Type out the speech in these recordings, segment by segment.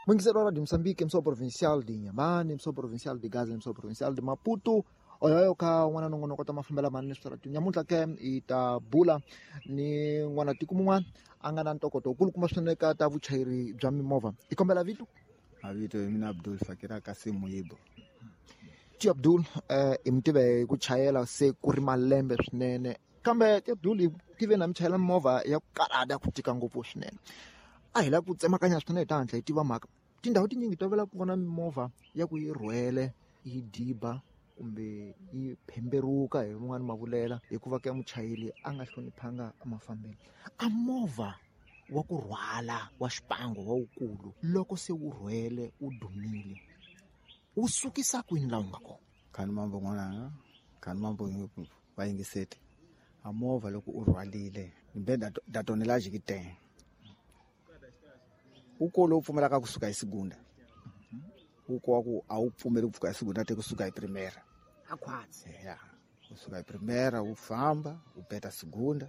Mwingiseri wa Radio Mozambique, mso provincial de Inhambane, mso provincial de Gaza, mso provincial de Maputo. Oyoyo ka n'wana nongonoko ta mafambelo manene switarati nyamuntlha ke hi ta bula ni n'wana tiko mun'wana a nga na ntokoto wukulukumba swinene ka ta vuchayeri bya mimovha. Hi kombela vito? Mavito hi mina Abdul Fakira Kasim Muyibo. Ti Abdul, hi mi tive hi ku chayela se ku ri malembe swinene, kambe ti Abdul hi tive na mi chayela mimovha ya ku karhata, ku tika ngopfu swinene. A hi lava ku tsemakanya swinene hi ta hatla hi tiva mhaka. Tindhawu tinyingi tolovela ku vona mimovha ya ku yi rhwele yi diba kumbe yi phemberuka hi rin'wani mavulela, hikuva ka muchayeri a nga hloniphanga mafambelo. A movha wa ku rhwala wa xipango wa wukulu loko se wu rhwele wu dumile, wu sukisa kwini laha wu nga kona? Khani mambo n'wananga, khani mambo va yingiseti. A movha loko u rhwalile mbe da tonelage ki teng, wu kolo wu pfumelaka kusuka hi segunda, wu kowa ku a wu pfumeli ku pfuka hi segunda, te kusuka hi primera. A khwatsi. Ya, kusuka hi primera wu famba wu peta segunda,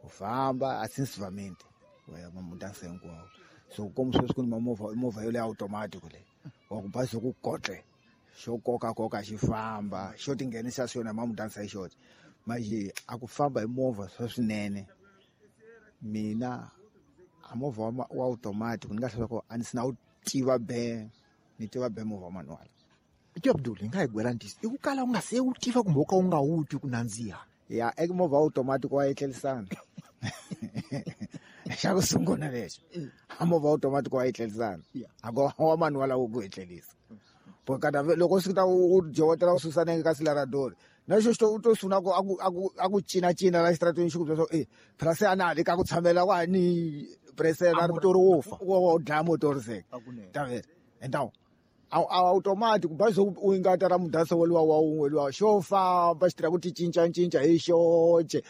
wu famba asinsivamente wa ya mamudansa hinkwawo. So komu sweswi ku ni mamovha, movha yo leyi automatic leyi wa ku bazi ku kotle xo koka koka xi famba xo tinghenisa xona mamudansa hi xoxe. Manje a ku famba hi movha swa swinene, mina a movha wa automatic ni nga hlula ku a ni sina wu tiva be, ni tiva be movha wa manual. Ti Abdul, hi nga hi gwela ntisi i ku kala u nga se wu tiva kumbe u ka u nga wu twi ku nandziha? Ya, eka movha wa automatic wa etlelisana. Xa ku sungula lexo, a movha wa automatic wa etlelisana, a ku wa manual wu ku etlelisa. Kada loko swi ta u jowetela u susa nenge ka silaradori, na xo xi to u to sungula ku a ku cina cina la xitarateni, xi ku byela swa ku phela se a na ha le ka ku tshamela wa ni presela A motori wo fa. Wo dlaya motori se. Tavela. Entawu a automatic bazi u ingata ra mudasa wa luwa wa un'we luwa xo famba xi tirha ku ti cinca cinca hi xoxe,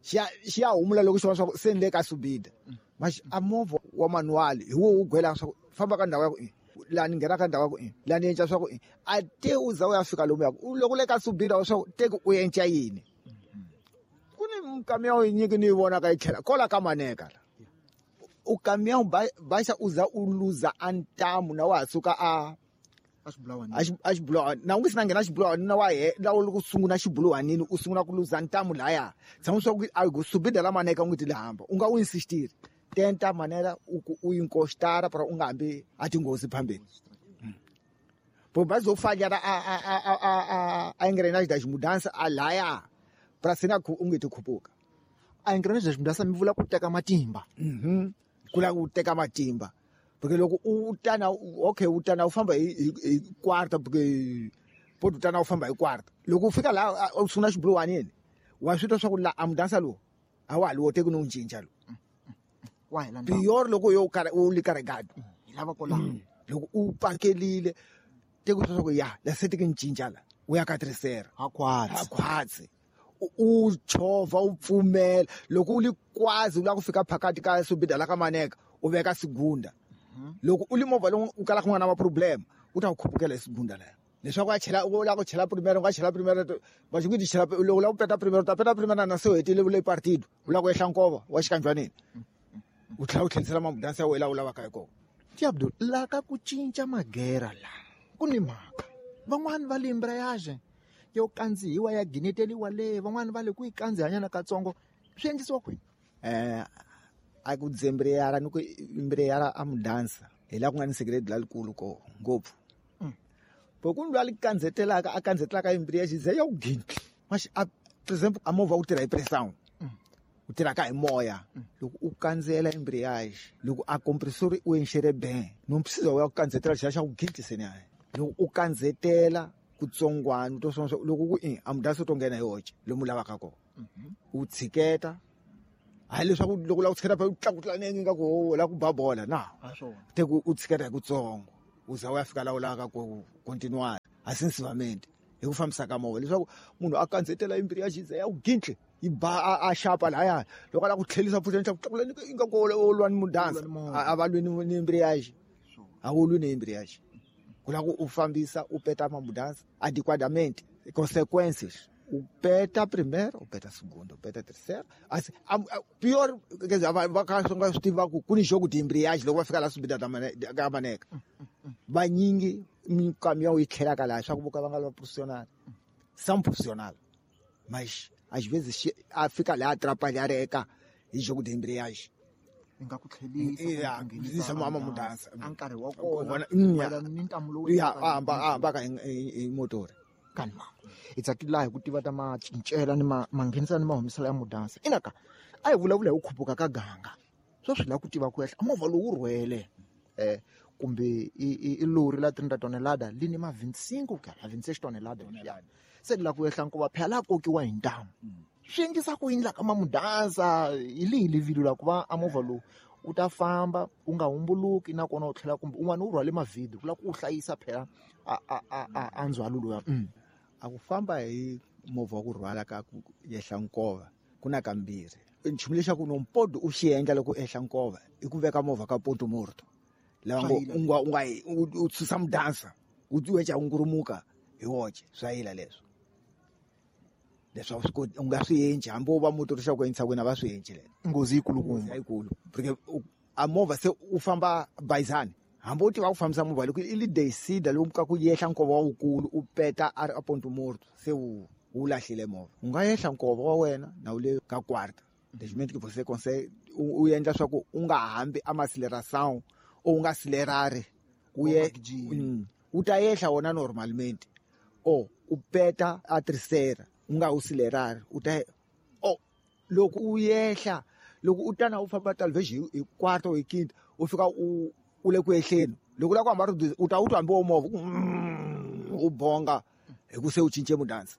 xi ya humula loko xi vona swa ku se ni le ka subida. Maxi a movha wa manual hi wo wu gwelaka swa ku famba ka ndhawu ya ku laha ni nghena ka ndhawu ya ku laha ni endla swa ku a te u za u ya fika lomu ya ku loko le ka subida wa swa ku te ku u endla yini. Ku ni kamiyawu yinyingi ni yi vonaka yi tlhela kola ka maneka la. U kamiyawu baxa u za u luza a ntamu na wa ha suka a A xibulawani. A xibulawani. Na u nge se na nghena xibulawani, na wa he, la u loko u sungula xibuluwanini, u sungula ku luza ntamu laya. Tshama swa ku a ku subida la maneka u nge ti le hamba, u nga wu insistiri. Tenta manera u ku u inkostara para u nga hambi a tinghozi phambeni. Bo bazi zo falhar a engrenagem das mudanças a laya para sina ku u nge ti khupuka. A engrenagem das mudanças mi vula ku teka matimba. Ku lava ku teka matimba. Porque loko u tana, okay, u tana u famba hi quarta, porque po u tana u famba hi quarta. Loko u fika laha u sungula xibuluwani yini, wa swi twa swa ku la a mudansa lowu a wa ha li woteki no n'wi cinca lowu. Wa hela ndhawu. Pior loko yo karhi u li carregado. Hi lava ko laha. Loko u pakelile teki swa ku ya la se teki ni cinca la, u ya ka terceira. Ha khwatsi. Ha khwatsi. U chovha u pfumela loko u li kwazi u lava ku fika phakati ka subida la ka maneka u veka segunda. Loko u li movha lowu u kalaka u nga na ma problem, u ta ku khupukela hi segunda leyo. Leswaku a chela, u lava ku chela primera, u nga chela primera, va xi ku ti chela, loko u lava ku peta primera, u ta peta primera na se u hetile u le partido, u lava ku ehla nkova wa xikanjwanini. U tlhela u tlherisela mamudansi ya wena laha u lavaka hi kona. Ti Abdul, la ka ku cinca magera la ku ni mhaka. Van'wani va le embrayage yo kandzihiwa ya gineteliwa le, van'wani va le ku yi kandzihanyana katsongo. Swi endlisiwa kwini? A ku dzembreyara ni ku embrayara a mudansa hi laha ku nga ni secret lalikulu ko ngopfu. Bo ku lwa li kandzetelaka, a kandzetelaka embrayage ze ya ku gintli. Maxi a, for example, a movha wu tirha hi pressure. Wu tirhaka hi moya. Loko u kandzela embrayage, loko a compressor u enxere ben, no precisa u ya ku kandzetela xiya xa ku gintli se ni hayi. Loko u kandzetela kutsongwana, u to swa loko ku i a mudansi u to nghena hi hoxe lomu u lavaka kona. U tshiketa. Hayi leswaku loko u lava ku tshiketa phela u tlakutla nenge ingaku u lava ku ba bola na. Ha swona. Te ku u tshiketa hi kutsongo, u za u ya fika laha u lavaka ku continue asensivamente hi ku fambisa ka movha, leswaku munhu a kandzetela embrayage yi za ya ku gintli, yi ba a xapa lahaya. Loko a lava ku tlherisa futhi endla ku tlakula ni ingaku u lwa ni mudansa. U lwa ni movha. A va lwi ni embrayage. A wu lwi ni embrayage. Ku lava ku u fambisa u peta mamudansa adequadamente, consequences. U peta primeiro, u peta segundo, u peta terceiro. Assim, pior, quer dizer, vai só tiva ku ni jogo de embreagem, logo vai ficar lá subida da maneca. Vanyingi caminhão e tlhela lá, só que o va profissional. São profissional. Mas às vezes fica lá atrapalhar eka hi jogo de embreagem. Nga ku tlhelisa mama mudansa a nkarhi wa kona ni ntamu lowu ya hamba ka hi motori. Kanma hi tsakile laha hi ku tiva ta macincela ni manghenisa ni mahumisela ya mudansa. Inaka a hi vulavula hi ku khupuka ka ganga, sweswi la ku tiva ku ehla movha lowu wu rhwele kumbe i lori la 30 tonelada li ni ma 25 ku ya 26 tonelada se la ku ehla nkova phela la kokiwa hi ntamu. Swi endlisa ku yini la ka mamudansa hi lihi livilo la ku va a movha lowu u ta famba u nga humbuluki nakona u tlhela kumbe un'wana u rhwale mavhidyo ku lava ku u hlayisa phela a ndzhwalo luya. A ku famba hi movha wa ku rhwala ka ku yehla nkova ku na kambirhi. Nchumu lexaku no mpodo u xi endla loko u ehla nkova i ku veka movha ka ponto morto laha ngo u nga u susa mudansa u eca u ngurumuka hi woxe swa yila leswo. Leswi u nga swi endli hambi wo va motori xa ku entshakwini a va swi endli leswo. Nghozi yikulukumba yikulu porque a movha se u famba bayizani hambi u tiva ku fambisa movha loko i li decide lomu ka ku yehla nkova wa wukulu u peta a ri a ponto morto se u lahlile movha. U nga yehla nkova wa wena na u le ka quarta lexi que você consegue u endla swa ku u nga hambi a maceleration u nga acelerari u ye u ta yehla wona normalmente o u peta a terceira u nga usilerari u ta o loko u yehla loko u tana u famba talvez hi quarto hi quinta u fika u le ku ehleni loko la ku hamba u ta u twa hambi wo movha u bonga hi ku se u cince mudansa.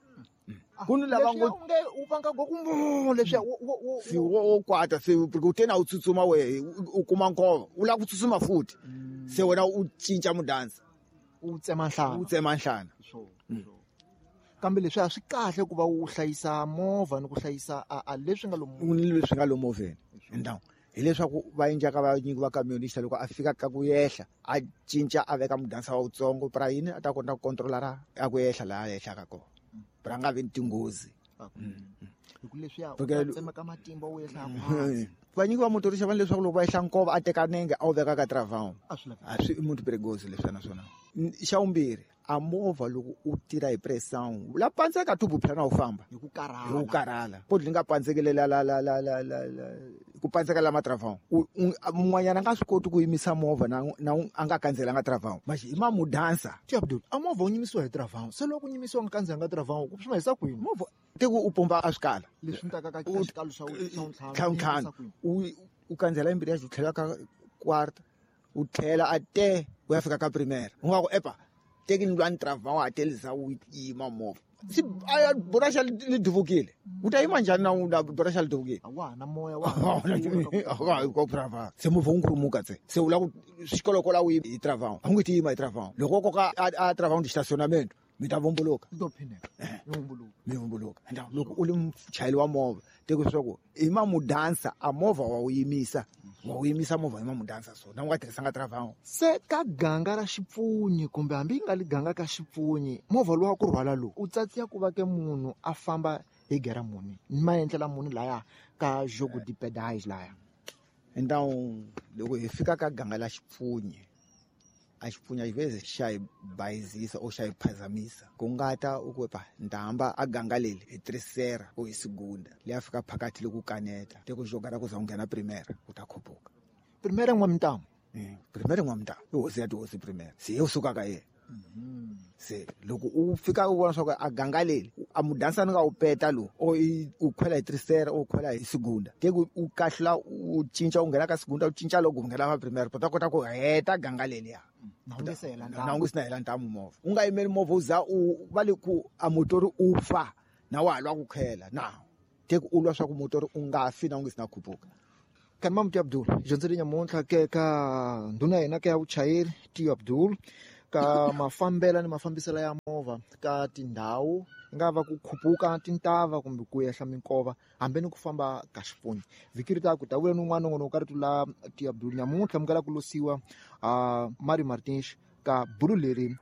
Ku ni lava ngo nge u vanga ngo ku leswiya si wo kwata se u tena u tsutsuma we u kuma nkova u lava ku tsutsuma futhi se wena u cinca mudansa u tsema nhlana u tsema nhlana. Kambe leswi a swi kahle ku va u hlayisa movha ni ku hlayisa a leswi nga lomu leswi nga lomu movheni. Então hileswaku va endlaka va nyiki va camionista loko a fika ka ku yehla a cinca a veka mudansa wa wutsongo pra yini a ta kota ku controlara a ku yehla laha a yehlaka kona pra nga vi ni tinghozi. Hi ku leswiya u tsemeka matimba u yehla vanyiki va motorista va leswaku loko va yehla nkova a teka nenge a wu veka ka travau a swi i muntu perigoso leswiya naswona. Xa vumbirhi a movha loko u tirha hi pressão la pandzeka tubu phela na u famba hi ku karhala hi ku karhala poti li nga pandzekele la la la la la la ku pandzeka la matravão mun'wanyana a nga swi koti ku yimisa movha na a nga kandzelanga travau mas hi mamudansa. Ti Abdul a movha wu yimisiwa hi travau se loko u yimisiwa nga kandzelanga travau ku swi hisa kwini movha tiko u pomba a swikala leswi ni taka ka xikalo xa ntlhanu u kandzela embreage u tlhela ka quarta u tlhela a te u ya fika ka primeira u nga ku epa teki ni lwani travau a telisa u yima movha si a buraxa li duvukile u ta yima njhani na buraxa li duvukile wa na moya wa ko travau se movha wu nkhurumuka tse se u lava ku xikolokola u hi travau a wu nge ti yima hi travau loko koka a travau ndi estacionamento mi ta vumbuluka mi vumbuluka. Loko u li muchayeri wa movha teko leswaku i mamudansa a movha wa wu yimisa movha hi mamudansa so na u nga tirhisanga travau. Se ka ganga ra xipfunyi kumbe hambi yi nga li ganga ka xipfunyi movha lowu wa ku rhwala lowu u tsatsiya ku va ke munhu a famba hi gera muni ni maendlela muni laya ka jogo de pedais laya. Então loko hi fika ka ganga la xipfunyi a xipfunyi às vezes xa hi bayizisa ou xa hi phazamisa ku nga ta u ku pa ndamba a ganga leli hi terceira ou hi segunda leyi a fika phakathi loko kaneta teko joga ra ku za u nghena primeira u ta khupuka primeira n'wamitamu primeira n'wamitamu i hosi ya tihosi primeira se yo suka ka yena. Se loko u fika u vona swa ku a ganga leli a mudansa ni nga u peta lowu o u khwela hi terceira u khwela hi segunda teko u kahlula u cinca u nghena ka segunda u cinca loko u nghena ka primeira u ta kota ku heta ganga leliya na u nga si na hela ntamu movha u nga yimeli movha u za u va le ku a motori u fa na wa ha lwa ku khwela na teko u lwa swa ku motori u nga fi na u nga si na khupuka. Kanma Mti Abdul dyondzele nyamuntlha ke ka ndhuna ya hina ka ya vuchayeri Tiyo Abdul ka mafambela ni mafambiselo ya movha ka tindhawu nga va ku khupuka tintava kumbe ku yehla minkova hambi ni ku famba ka xipfunyi. Vhiki ri ta ku ta vuya ni un'wana nongonoko ka rito la Tiyo Abdul nyamuntlha mi kala ku losiwa Mario Martins ka bulu leri.